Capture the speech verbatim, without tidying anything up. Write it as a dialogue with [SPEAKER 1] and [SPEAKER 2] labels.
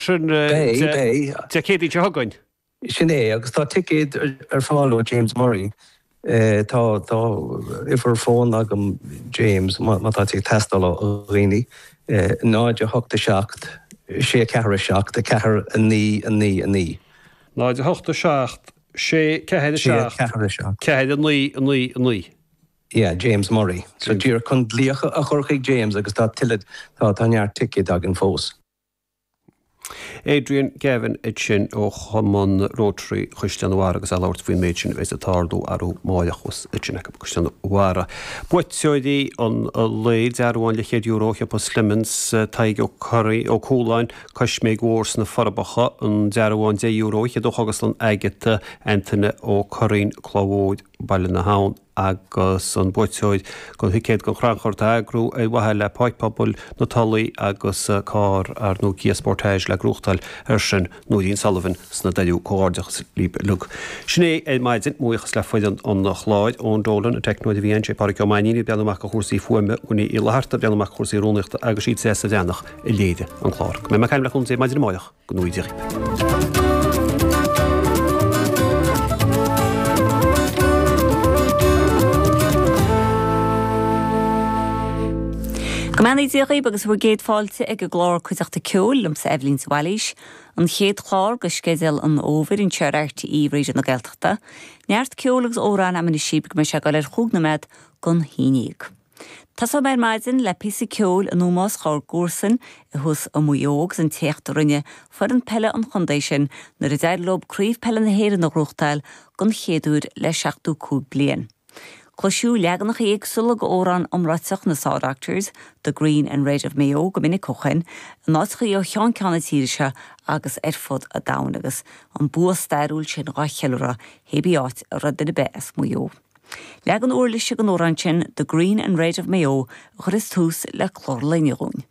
[SPEAKER 1] sin Dé Céadaoin seo chugainn.
[SPEAKER 2] Sin é agus tá ticéid ar fáil ó James Murray. Tá tá uimhir fóin agam James má tá ag teastáil ó dhaoine náid a hocht a seacht sé ceathair a seacht a ceathair a naoi a naoi a naoi.
[SPEAKER 1] Náid a hocht a seacht sé ceathair a seacht ceathair a naoi a naoi a naoi.
[SPEAKER 2] Yeah, James Murray. So díreach chun glaoch a chur chuig James agus tá tuilleadh tá tá neart ticéad againn fós.
[SPEAKER 1] Adrian Gavin ansin ó Chumann Rotary Chaisleán an Bharraigh agus é ag labhairt faoin méid sin a bheas ag tarlú arú amárach thuas ansin acu Caisleán an Bharraigh. Buaiteoirí an lae dearbhán leathchéad euro Shiopa Slemons, Tadhg Ó Curraoin, Ó Cualáin, Coisméig Mhór sna Forbacha, an dearbhán deich euro fhichead ó Chógaslann Agatha, Antaine Ó Curraoin, Cloch Mhóir, Baile na hAbhann. agus an buaiteoir don thicéad don chrannchur atá á eagrú ar mhaithe le Páirc Pobail na Tulaí agus carr ar ndóigh Kia Sportage le gnóthachtáil air sin Nóirín Sullivan sna Doireadh. Comhghairdeachas libh uilig. Sin é ar maidin. Mo bhuíochas le foireann an chláir, Eoin Dolan, an teicneoir a bhí ann, sé Pádraig Ó Mainnín ag breathnú amach do chúrsaí fuaime, Winnie Uí Fhlatharta ag breathnú amach do chúrsaí rúnaíochta agus sí Treasa Bhreathnach a léirigh an clár. Go mbeidh mé ag caint le cúnamh Dé maidin amárach. Go ngnóthaí Dia dhaoibh.
[SPEAKER 3] Go mbeannaí Dia dhaoibh agus bhur gcéad fáilte ag an gclár Cuideachta Ceoil liomsa Eibhlín de Bhailís, an chéad chlár de sceideal an fhómhair anseo ar RTÉ Raidió na Gaeltachta. Neart ceoil agus amhrán agam anois daoibh go mbeidh sé ag dul ar chúig nóiméad don haon déag. Tosóidh mé ar maidin le píosa ceoil in ómós dhár gcomharsain thuas i Maigh Eo agus an t-éacht a rinne foireann peile an chontae sin nuair a d'éirigh leo Craobh Peile na hÉireann a ghnóthachtáil don chéad uair le seachtó cúig bliain. Cloiseadh leaganacha éagsúla d'amhrán iomráiteach na Saw Doctors, The Green and Red of Mayo go minic ó shin, in áiteachaí ó cheann ceann na tíre seo agus ar fud an domhain agus an bua stairiúil sin dhá cheiliúradh hé bí áit a raibh duine ar bith as Maigh Eo. Leagan uirlise den amhrán sin, The Green and Red of Mayo, a chuirfeas tús le clár lae inniu dhúinn.